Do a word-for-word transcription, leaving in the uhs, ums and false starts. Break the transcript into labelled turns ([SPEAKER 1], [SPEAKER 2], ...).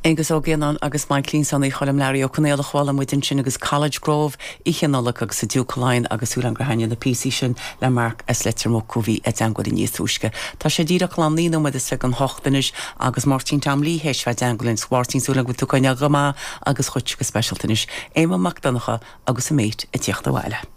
[SPEAKER 1] Aengus Ó Giannáin agus Michaelín Sonaí Choilm Learaí Ó Conaola chuala muid ansin agus College Grove Oíche Nollag agus a Duke Line agus Súlan Grahaine na píosaí sin le Mark as Leitir Muc bhí i dteagmháil níos túisce. Tá sé díreach le naoi nóiméad is fiche don hocht anois agus Máirtín Tom Lee théis bheith i dteagmháil linn Mháirtín súil go tú coinne go maith agus chuit go speisialta anois. Éamonn Mac Donncha agus a mate ag tíocht abhaile.